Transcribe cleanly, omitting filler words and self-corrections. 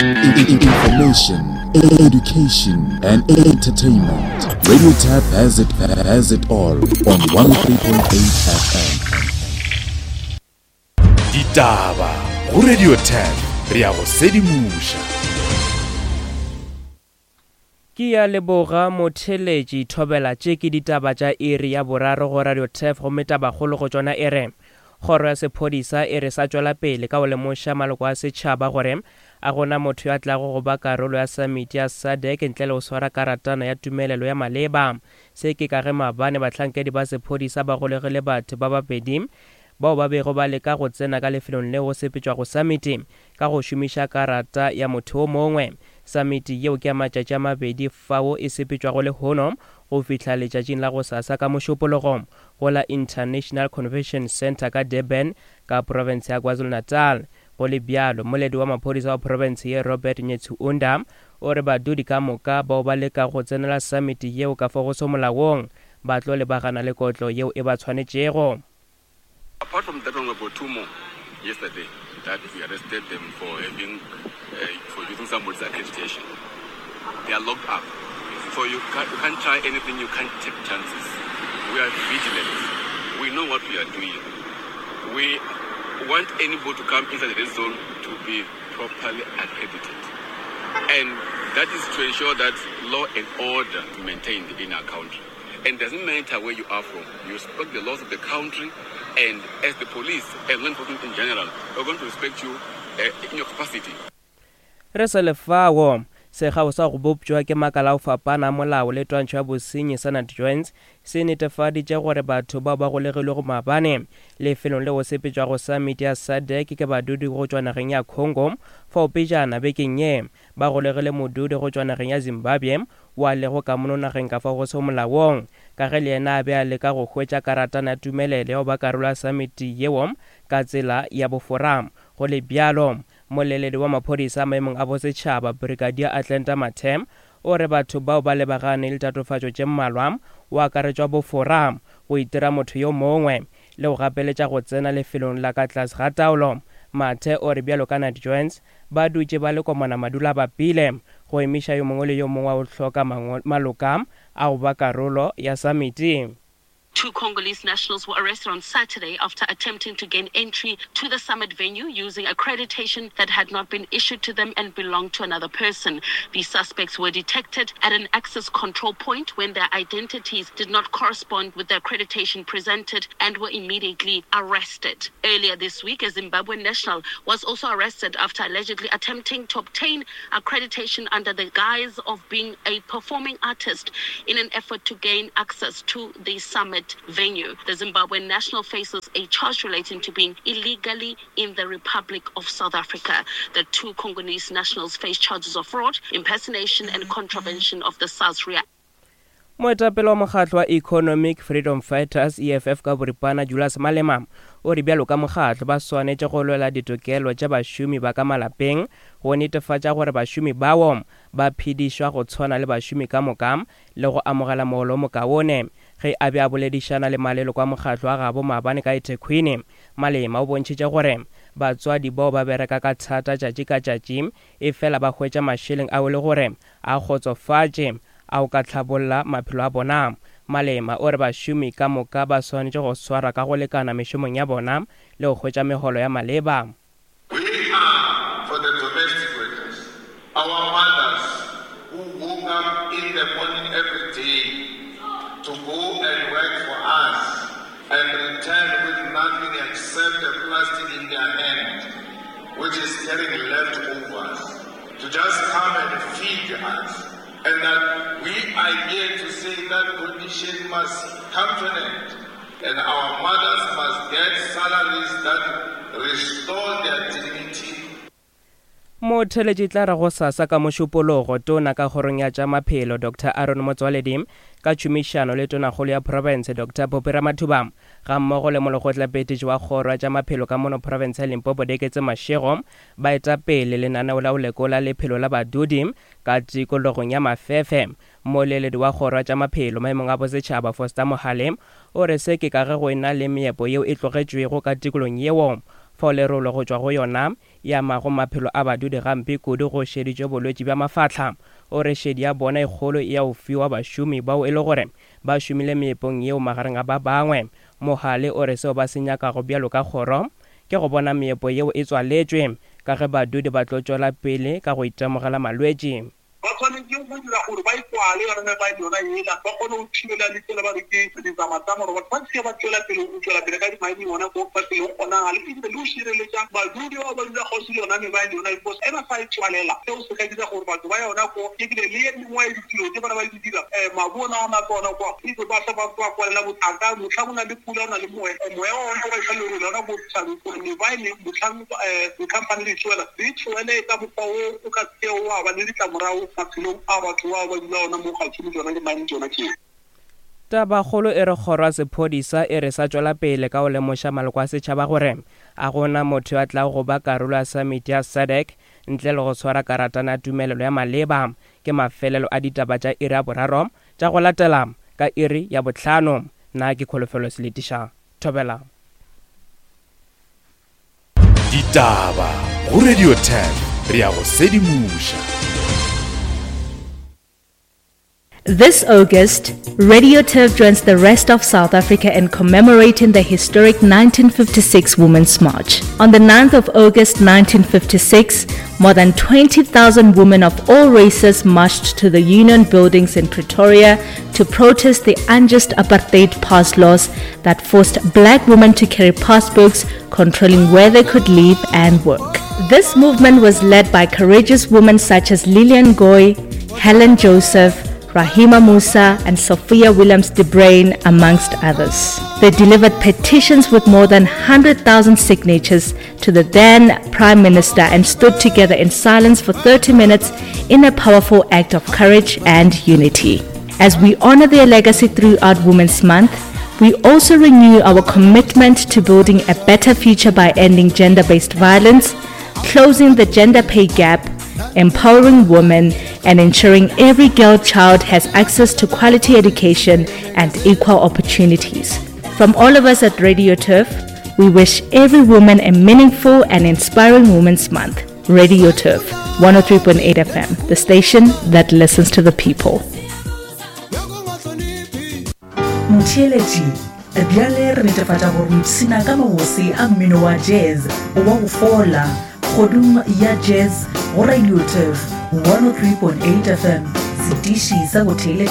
Information, education, and entertainment. Radio Tap has it, has it all on 103.8 FM. Ditaba go Radio Tap re ya go sedimoša. Ke ya leboga motheletši thobela tše ke ditaba tša iri ya boraro go Radio Turf gomme tabakgolo go tšona e re Kgoro ya sephodisa e re sa tšwela pele ka go lemoša maloko a setšhaba gore a gona motho yo a tlago go ba karolo ya samiti ya SADC ntle le go swara karatana ya tumelelo ya maleba. Se ke ka ge maabane bahlankedi ba sephodisa ba golegile batho ba babedi bao ba bego ba leka go tsena ka lefelong leo go sepetšwago samiti ka go šomiša karata ya motho o mongwe. Samiti yeo ke ya matšatši a mabedi fao e sepetšwago lehono go fihla letšatšing la gosasa ka Mošupologo go la International Convention Centre ka Durban ka profense ya KwaZulu-Natal. Go le bjalo, moledi wa maphodisa wa profense ye Robert Netshiunda o re badudi ka moka bao ba lekago go tsenela samiti yeo ka fo go se molaong ba tlo lebagana le kotlo yeo e ba tshwanetšego. Apart from that one, we've got two more yesterday that we arrested them for having uh, for using somebody's accreditation. They are locked up. So you can't, you can't try anything, you can't take chances. We are vigilant. We know what we are doing. We want anybody to come inside the red zone to be properly accredited. And that is to ensure that law and order is maintained in our country. And doesn't matter where you are from, you respect the laws of the country, and as the police and law enforcement in general, we're going to respect you uh, in your capacity. Re sa le fao, sekgao sa go bopšwa ke makala a go fapana a molao le twantšho ya bosenyi sa NatJoints se netefaditše gore batho bao ba golegilwego maabane lefelong leo go sepetšwago samiti ya SADC ke badudi go tšwa nageng ya Congo fao pejana bekeng ye ba golegile modudi go tšwa nageng ya Zimbabwe wo a lego ka mono nageng ka fao go sego molaong ka ge le yena a be a leka go hwetša karatana ya tumelelo ya go ba karolo ya samiti yeo ka tsela ya bofora. Go le bjalo, Moleledi wa maphodisa maemong a bosetšhaba, Brigadier Atlanta Mathe, o re batho bao ba lebagane le tatofatšo tše mmalwa, go akaretšwa bofora, go itira motho yo mongwe, le go gapeletša go tsena lefelong la ka tlase ga taolo. Mathe o re bjalo ka Night Joints, ba dutše ba le komana madula-bapile go emiša yo mongwe le yo mongwe wa go hloka maloka a go ba karolo ya samiti. Two Congolese nationals were arrested on Saturday after attempting to gain entry to the summit venue using accreditation that had not been issued to them and belonged to another person. The suspects were detected at an access control point when their identities did not correspond with the accreditation presented and were immediately arrested. Earlier this week, a Zimbabwean national was also arrested after allegedly attempting to obtain accreditation under the guise of being a performing artist in an effort to gain access to the summit venue. The Zimbabwean national faces a charge relating to being illegally in the Republic of South Africa. The two Congolese nationals face charges of fraud, impersonation, and contravention of the SARS React. Moetapele wa mokgatlo wa Economic Freedom Fighters, EFF ka boripana, Julius Malema, o re bjalo ka mokgatlo ba swanetše go lwela ditokelo tša bašomi ba ka malapeng go netefatša gore bašomi bao ba phedišwa go tshwana le bašomi ka moka le go amogela mogolo o mokaone. Ge a be a boledišana le maleloko a mokgatlo wa gabo maabane ka eThekwini, Malema o bontšhitše gore batswadi bao ba bereka ka thata tšatši ka tšatši efela ba hwetša mašeleng ao e le gore a kgotsofatše a go ka hlabolla maphelo a bona. Malema o re bašomi ka moka ba swanetše go swarwa ka go lekana mešomong ya bona le go hwetša megolo ya maleba. We are for the domestic workers, our mothers who woke up in the morning every day to go and work for us and return with nothing except a plastic in their hand, which is carrying leftovers, to just come and feed us. And that we are here to say that condition must come to an end. And our mothers must get salaries that restore their dignity. Motheeletši tla re gosasa ka Mošupologo, Tona ka Kgorong ya tša Maphelo, Doctor Aaron Motsoaledi, ka tšhomišano le Tonakgolo ya Profense, Doctor Phophi Ramathuba, gammogo le Molekgotlaphethiši wa Kgoro ya tša Maphelo ka mono Profense ya Limpopo, Deketse Mashego, ba eta pele lenaneo la go lekola lephelo la badudi ka tikologong ya Mafefe. Mmoleledi wa Kgoro ya tša Maphelo maemong a Bosetšhaba, Foster Mohale, o re se ke ka ge go e na le meepo yeo e tlogetšwego ka tikolong yeo. Fao lerolo go tšwa go yona e amago maphelo a badudi gampe kudu go šeditšwe bolwetši bja mafahla. O re šedi ya bona e kgolo e ya go fiwa bašomi bao e le gore ba šomile meepong yeo magareng a ba bangwe. Mohale o re seo ba se nyakago bjalo ka kgoro ke go bona meepo yeo e tswaletšwe ka ge badudi ba tlo tšwela pele ka go itemogela malwetši. Ba swanetše go dira gore ba e kwale yona mebaene yona yela, ba kgone go thibela le tsela ba re ke ditsamatama gore batho ba se ke ba tšwela pele go tšwela pele ka dimaeneng gona ko ba selego kgonagale, ebile le go šireletša badudi bao ba dula kgauswi le yona mebaene yona because ge ba sa e tswalela seo se ka dira gore batho ba yona ko ebile le ye mengwe ya ditiro tše bana ba di dira um mabu ona ona ka ona kwa ebe ba sa ba ba kwalela bothata mohlang o na le pula o na le moya moya wa ona wa iša lerole ona ko thabeng gore mebaene mohlang um dikhamphani di tsoela di tsoele ka mokgwa wo o ka Seo wa ba le ditlamorago maphelong a batho bao ba dula gona mo kgauswi le tšona dimaene tšona tšeo. Tabakgolo e re kgoro ya sephodisa e re sa tšwela pele ka go lemoša maloko a setšhaba gore a go na motho yo a tlago go ba karolo ya samiti ya SADC ntle le go swara karatana ya tumelelo ya maleba. Ke mafelelo a ditaba tša iri ya boraro tša go latela ka iri ya bohlano. Nna ke Kholofelo Seletiša. Thobela. Ditaba go Radio 10 re a go sedimoša. This August, Radio Turf joins the rest of South Africa in commemorating the historic 1956 Women's March. On the 9th of August 1956, more than 20,000 women of all races marched to the Union buildings in Pretoria to protest the unjust apartheid pass laws that forced black women to carry passbooks controlling where they could live and work. This movement was led by courageous women such as Lillian Goy, Helen Joseph, Rahima Moosa and Sophia Williams de Bruyn, amongst others. They delivered petitions with more than 100,000 signatures to the then Prime Minister and stood together in silence for 30 minutes in a powerful act of courage and unity. As we honor their legacy throughout Women's Month, we also renew our commitment to building a better future by ending gender based violence, closing the gender pay gap, empowering women, and ensuring every girl child has access to quality education and equal opportunities. From all of us at Radio Turf, we wish every woman a meaningful and inspiring Women's Month. Radio Turf, 103.8 FM, the station that listens to the people. Motheeletši, bjale re netefatša gore o ipshina ka mabose a mmino wa jazz wa go fola kgodung ya jazz go Radio Turf 103.8 FM, setiši sa go theeletša.